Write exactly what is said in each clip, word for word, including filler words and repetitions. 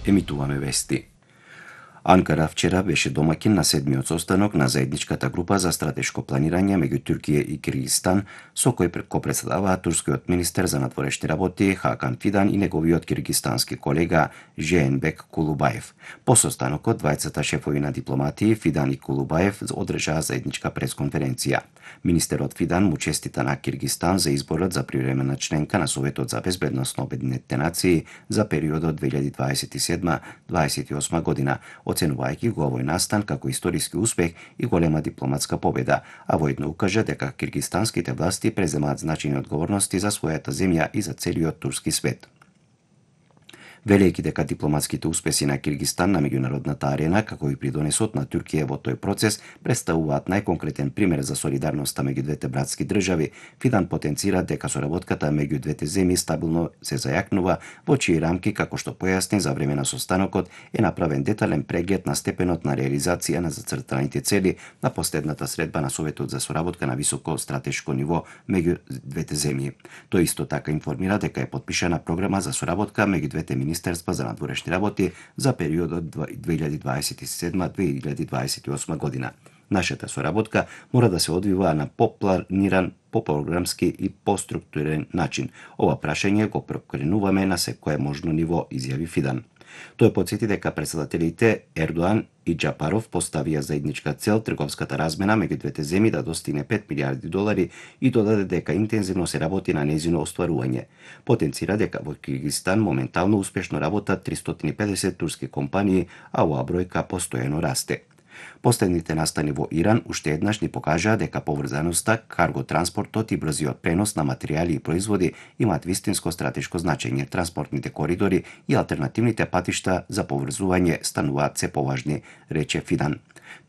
Емитуваме вести. Анкара вчера беше домаќин на седмиот состанок на заедничката група за стратешко планирање меѓу Туркија и Киргизстан, со кој го претседаваа турскиот министер за надворешни работи Хакан Фидан и неговиот киргизстански колега Жеенбек Кулубаев. По состанокот, двајцата шефови на дипломатии Фидан и Кулубаев одржаа заедничка пресконференција. Министерот Фидан му честита на Киргизстан за изборот за привремена членка на Советот за безбедност на Обединетите нации за периодот две илјади дваесет и седма до дваесет и осма година, оценувајќи го овој настан како историски успех и голема дипломатска победа, а воедно укажа дека киргизстанските власти преземаат значајни одговорности за својата земја и за целиот турски свет. Велејќи дека дипломатските успеси на Киргизстан на меѓународната арена, како и придонесот на Туркија во тој процес, представуваат најконкретен пример за солидарноста меѓу двете братски држави, Фидан потенцира дека соработката меѓу двете земји стабилно се зајакнува, во чии рамки, како што појасни за време на состанокот, е направен детален преглед на степенот на реализација на зацртаните цели на последната средба на Советот за соработка на високо стратешко ниво меѓу двете земји. Тој исто така информира дека е потпишана програма за соработка меѓу двете министерства за надворешни работи за периодот две илјади дваесет и седма до две илјади дваесет и осма година. Нашата соработка мора да се одвива на попланиран, попрограмски и поструктурен начин. Ова прашање го прокренуваме на секое можно ниво, изјави Фидан. Тој потсети дека претседателите Ердоан и Џапаров поставија заедничка цел трговската размена меѓу двете земји да достигне пет милијарди долари и додаде дека интензивно се работи на нејзино остварување. Потенцира дека во Киргизстан моментално успешно работат тристотини и педесет турски компании, а оваа бројка постојано расте. Последните настани во Иран уште еднаш ни покажаа дека поврзаноста, карго транспортот и брзиот пренос на материјали и производи имаат вистинско стратешко значење. Транспортните коридори и алтернативните патишта за поврзување стануваат се поважни, рече Фидан.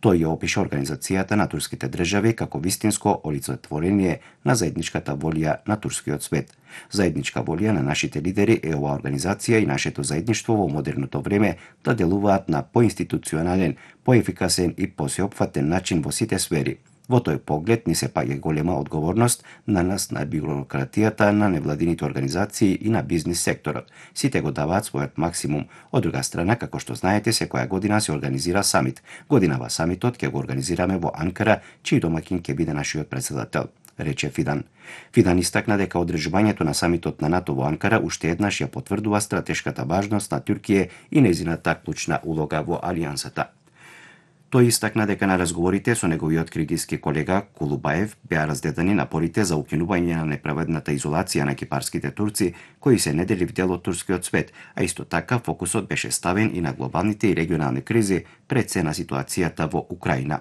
Тој ја опиша организацијата на турските држави како вистинско олицетворение на заедничката волја на турскиот свет. Заедничка волја на нашите лидери е оваа организација и нашето заедништво во модерното време да делуваат на поинституционален, поефикасен и посеопфатен начин во сите сфери. Во тој поглед ни се паѓа голема одговорност на нас, на бюрократијата, на невладините организации и на бизнис секторот. Сите го даваат својот максимум. Од друга страна, како што знаете, секоја година се организира самит. Годинава самитот ќе го организираме во Анкара, чиј домаќин ќе биде нашиот претседател, рече Фидан. Фидан истакна дека одржувањето на самитот на НАТО во Анкара уште еднаш ја потврдува стратешката важност на Туркија и нејзината клучна улога во алијансата. Тој истакна дека на разговорите со неговиот киргизски колега Кулубаев беа разгледани напорите за укинување на неправедната изолација на кипарските турци, кои се неделив дел од турскиот свет, а исто така фокусот беше ставен и на глобалните и регионални кризи, пред се на ситуацијата во Украина.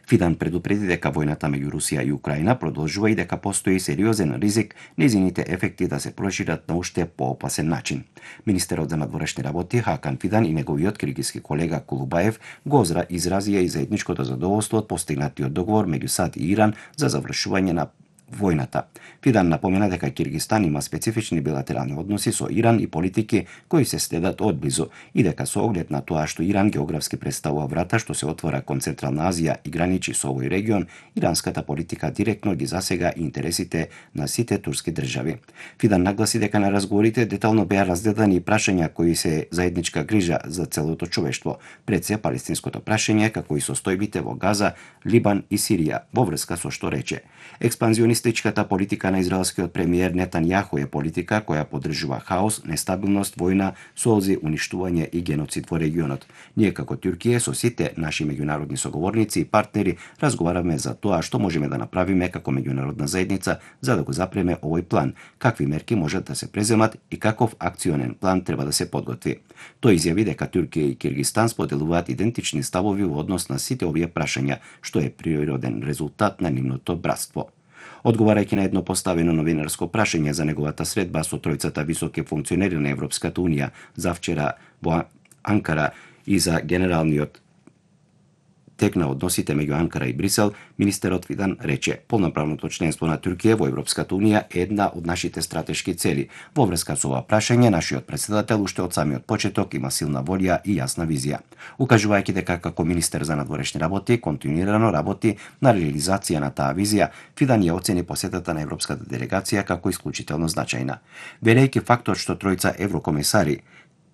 Фидан предупреди дека војната меѓу Русија и Украина продолжува и дека постои сериозен ризик нејзините ефекти да се прошират на уште поопасен начин. Министерот за надворешни работи Хакан Фидан и неговиот киргизски колега Кулубаев го изразија и заедничкото задоволство од постигнатиот договор меѓу САД и Иран за завршување на војната. Фидан напомена дека Киргизстан има специфични билатерални односи со Иран и политики кои се следат одблизу и дека со оглед на тоа што Иран географски представува врата што се отвора кон Централна Азија и граничи со овој регион, иранската политика директно ги засега интересите на сите турски држави. Фидан нагласи дека на разговорите детално беа разгледани и прашања кои се заедничка грижа за целото човештво, пред се палестинското прашање како и состојбите во Газа, Либан и Сирија, во врска со што рече: експанзионистичката политика на израелскиот премиер Нетањаху е политика која поддржува хаос, нестабилност, војна, солзи, уништување и геноцид во регионот. Ние како Туркија со сите наши меѓународни соговорници и партнери разговараме за тоа што можеме да направиме како меѓународна заедница за да го запреме овој план, какви мерки можат да се преземат и каков акционен план треба да се подготви. Тој изјави дека Туркија и Киргизстан споделуваат идентични ставови во однос на сите овие прашања, што е природен резултат на нивното братство. Одговарајќи на едно поставено новинарско прашање за неговата средба со тројцата високи функционери на Европската Унија завчера во Анкара и за генералниот тек на односите меѓу Анкара и Брисел, министерот Фидан рече: полноправното членство на Туркија во Европската Унија е една од нашите стратешки цели. Во врска со ова прашање, нашиот претседател уште од самиот почеток има силна волја и јасна визија. Укажувајќи дека како министер за надворешни работи континуирано работи на реализација на таа визија, Фидан ја оцени посетата на европската делегација како исклучително значајна. Велејќи фактот што тројца еврокомисари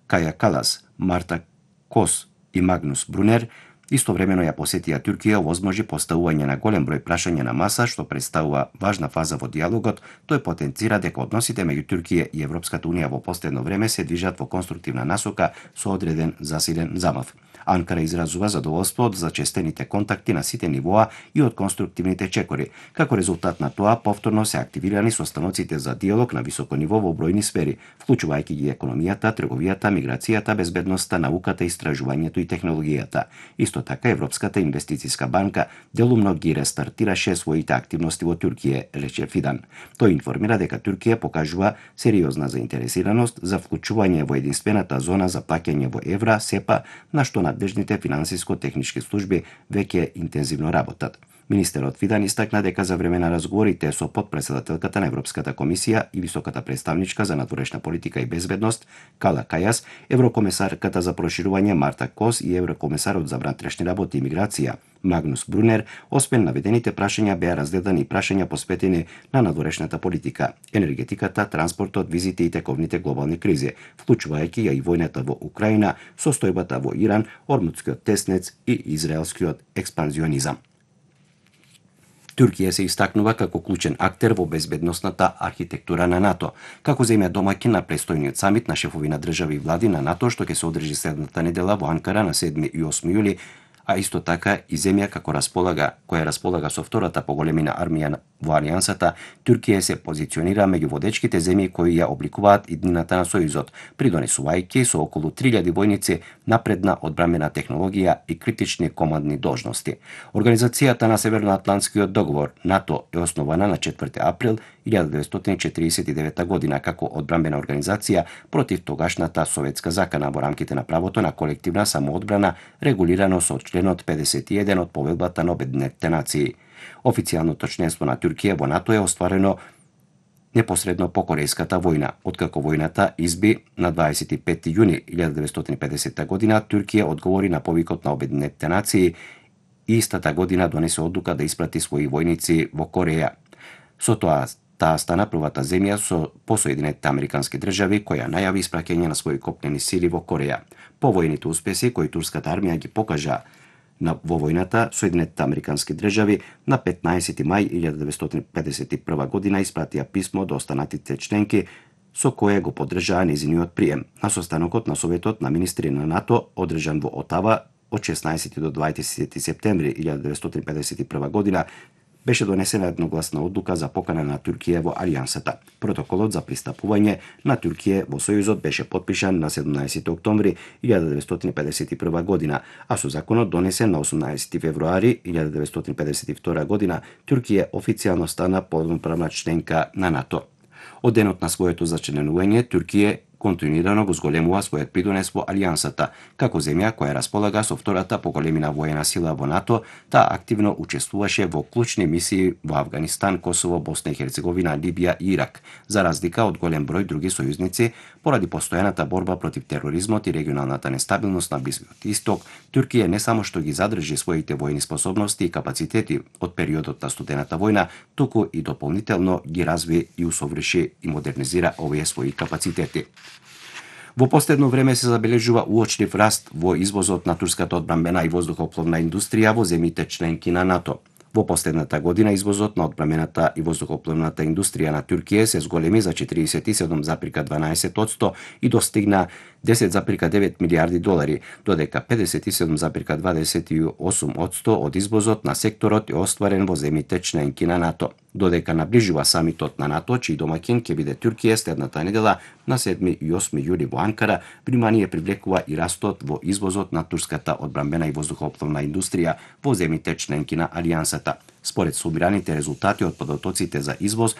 Каја Калас, Марта Кос и Магнус Брунер истовремено ја посетија Туркија, овозможи поставување на голем број прашања на маса, што представува важна фаза во диалогот. Тој потенцира дека односите меѓу Туркија и Европската унија во последно време се движат во конструктивна насока со одреден засилен замав. Анкара изразува задоволство од зачестените контакти на сите нивоа и од конструктивните чекори. Како резултат на тоа, повторно се активирани состаноците за диалог на високо ниво во бројни сфери, вклучувајќи ги економијата, трговијата, миграцијата, безбедноста, науката, истражувањето и технологијата. Исто така, Европската инвестициска банка делумно ги рестартираше своите активности во Туркија, рече Фидан. Тој информира дека Туркија покажува сериозна заинтересираност за вклучување во единствената зона за плаќање во евра, СЕПА, на што надлежните финансиско-технички служби веќе интензивно работат. Министерот Фидан истакна дека за време на разговорите со потпредседателката на Европската комисија и високата представничка за надворешна политика и безбедност Кала Кајас, еврокомесарката за проширување Марта Кос и еврокомесарот за внатрешни работи и миграција Магнус Брунер, освен наведените прашања беа разгледани и прашања посветени на надворешната политика, енергетиката, транспортот, визите и тековните глобални кризи, вклучувајќи ја и војната во Украина, состојбата во Иран, Ормудскиот теснец и израелскиот експанзионизам. Туркија се истакнува како клучен актер во безбедносната архитектура на НАТО, како земја домаќин на престојниот самит на шефови на држави и влади на НАТО, што ќе се одржи следната недела во Анкара на седми и осми јули, а исто така и земја како располага, која располага со втората поголемина армија во Алијансата, Туркија се позиционира меѓу водечките земји кои ја обликуваат иднината на Сојузот, придонесувајќи со околу три илјади војници напредна одбранбена технологија и критични командни должности. Организацијата на Северноатлантскиот договор НАТО е основана на четврти април илјада деветстотини четиридесет и девета година како одбранбена организација против тогашната советска закана во рамките на правото на колективна самоодбрана, регулирано со членот педесет и еден од Повелбата на Обединетите нации. Официјалното членство на Туркија во НАТО е остварено непосредно по Корејската војна. Откако војната изби на дваесет и пети јуни илјада деветстотини и педесета година, Туркија одговори на повикот на Обединетите нации и истата година донесе одлука да испрати своји војници во Кореја. Со тоа, таа стана првата земја со по Соединетите Американски држави која најави испраќање на своји копнени сили во Кореја. По војните успеси кои турската армија ги покажа на во војната, Соединетите Американски држави на петнаесети мај илјада деветстотини педесет и прва година испратија писмо до останатите членки со кое го поддржаа нејзиниот прием. На состанокот на Советот на министри на НАТО, одржан во Отава од шеснаесети до дваесети септември илјада деветстотини педесет и прва година, беше донесена едногласна одлука за покана на Туркија во Алијансата. Протоколот за пристапување на Туркија во Сојузот беше потпишан на седумнаесети октомври илјада деветстотини педесет и прва година, а со законот донесен на осумнаесети февруари илјада деветстотини педесет и втора година, Туркија официјално стана полноправна членка на НАТО. Од денот на своето зачленување, Туркија континуирано го зголемува својот придонес во Алијансата. Како земја која располага со втората поголемина воена сила во НАТО, таа активно учествуваше во клучни мисии во Авганистан, Косово, Босна и Херцеговина, Либија и Ирак, за разлика од голем број други сојузници. Поради постојаната борба против тероризмот и регионалната нестабилност на Блискиот Исток, Туркија не само што ги задржи своите војни способности и капацитети од периодот на студената војна, туку и дополнително ги разви и усоврши и модернизира овие своји капацитети. Во последно време се забележува уочлив раст во извозот на турската одбранбена и воздухопловна индустрија во земјите членки на НАТО. Во последната година извозот на одбранбената и воздухопловната индустрија на Туркија се зголеми за четиридесет и седум зарез дванаесет одсто и достигна десет зарез девет милијарди долари, додека педесет и седум зарез дваесет и осум одсто од извозот на секторот е остварен во земјите членки на НАТО. Додека наближува самитот на НАТО, чиј домаќин ќе биде Туркија следната недела на седми и осми јули во Анкара, внимание привлекува и растот во извозот на турската одбранбена и воздухопловна индустрија во земјите членки на Алијансата. Според сумираните резултати од податоците за извоз,